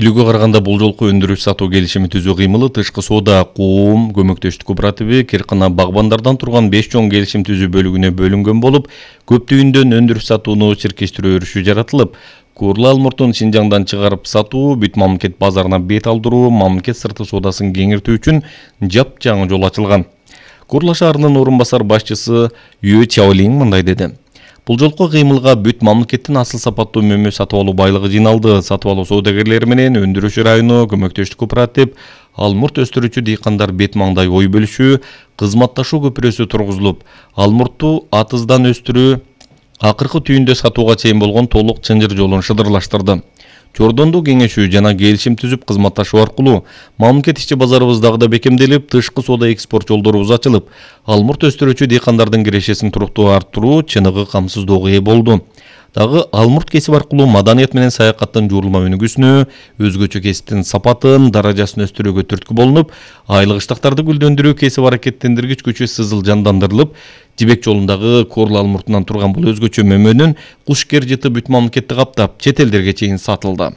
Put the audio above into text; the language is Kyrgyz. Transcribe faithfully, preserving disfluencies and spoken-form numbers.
Илүүгө караганда бул жолку өндүрүш сатуу келишими түзүү кыймылы Тышкы соода коом көмөктөштүк кооперативи Керкана багбандардан турган беш чоң келишим түзүү бөлүгүнө бөлүнгөн болуп, көптүгүндөн өндүрүш сатууну чиркештирүү өрүшү жаратылып, куурлы алмуртун Шинжаңдан чыгарып сатуу, бүт мамлекет базарына бет алдыруу, мамлекет сырты соодасын кеңиртүү үчүн жапжаңы жол ачылган. Курла шаарынын орун басар башчысы Ю Чаолинг мындай деди. Бул жолку кыймылга бүт мамлекеттин асыл сапаттуу мөмө сатып алуу байлыгы жыйналды. Сатып алуу соодагерлери менен өндүрүш району, көмөктөштүк кооператив, алмурт өстүрүүчү дыйкандар бет маңдай ой бөлүшүү, кызматташуу көпүрөсү тургузулуп, алмуртту атыздан өстүрүү акыркы түйүндө сатууга чейин болгон толук чынжыр жолун шыдырлаштырды. Чордондуу кеңешүү жана келишим түзүп кызматташуу аркылуу мамлекет ички базарыбыз дагы да бекемделип, тышкы соода экспорт жолдорубуз ачылып, алмурт өстүрүүчү дыйкандардын кирешесин туруктуу арттыруу, чыныгы камсыздоого ээ болду. Дагы алмурт кесип аркылуу маданият менен саякаттын жуурулма өнүгүүсүнө, өзгөчө кесиптин сапатын, даражасын өстүрүүгө түрткү болунуп, айлык ыштактарды гүлдөндүрүү кесип аракеттендиргич күчү сызыл жандандырылып, Жибек жолундагы Корла алмуртунан турган бул өзгөчө мөмөнүн куш кер жыты бүт мамлекетти каптап, чет элдерге чейин сатылды.